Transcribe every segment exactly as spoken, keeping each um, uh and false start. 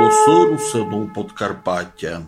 Голосы русинув Подкарпатя.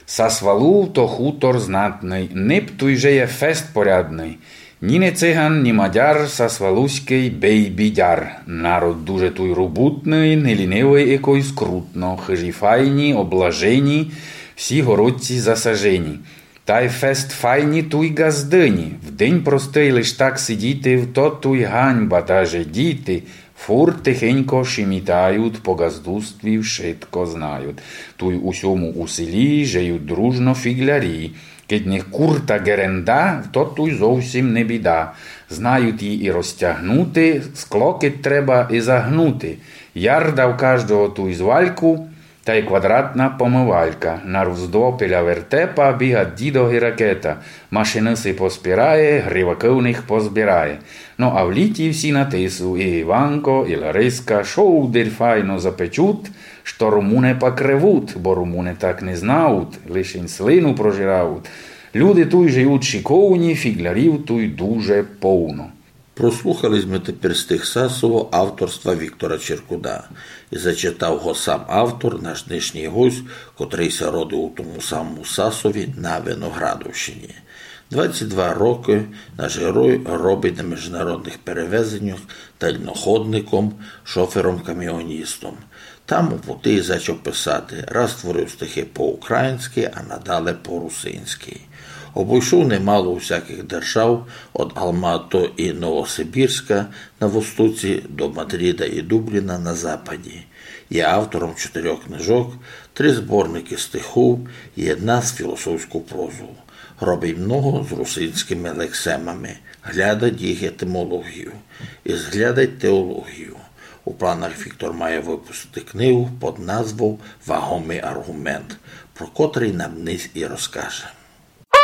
Сасвалув то хутор знатный, неб туй жиє фест порядный. Ні не циган, ні мадяр, сасвалуськый бейбідяр. Народ дуже туй робутный, не лінивый, якой скрутно, хыжі файні, облажені, всі городці засажені. Тай фест файні туй ґаздыні. В день простый лиш так сидіти, в то туй ганьба, даже діти фурт тихенько шимітають, по ґаздустві вшытко знають. Туй у сьому у селі жиють дружно фіґлярі. Кедь не курта ґеренда, то туй зовсім не біда. Знають її і розтягнути, скло кедь треба і загнути. Ярда в каждого туй з вальку, тай квадратна помывалька. На Руздво біля вертепа бігать дідо ги ракета. Машины си поспірає, гривакы в них позбірає. Но а в літі всі на тису, і Іванко, і Лариска, шовдарь файно запечуть, што румуне пак ревуть, бо румуне так не знають, лишень слину прожирають. Люди туй жиють шиковні, фіґлярів туй дуже повно. Прослухали сьме тепер стих Сасово авторства Віктора Черкуна. І зачитав го сам автор, наш днешній гость, котрый ся родив у тому самому Сасові на Виноградовщині. Двадцять два рокы наш герой робить на міжнародных перевезеннях дальноходником, шофером-каміоністом. Там у пути зачав писати, раз творив стихи по-українськи, а надале по-русинськи. Обойшов немало усякых держав, од Алматы і Новосибірська на востоці до Мадрида і Дубліна на западі. Є автором чотирьох книжок, три зборникы стихов і єдна з філософську прозу. Робить много з русинськыми лексемами, глядать їх етимологію і зглядать теологію. У планах Віктор має выпустити книгу під назвов «Вагомый арґумент», про котрый нам днесь і розкаже.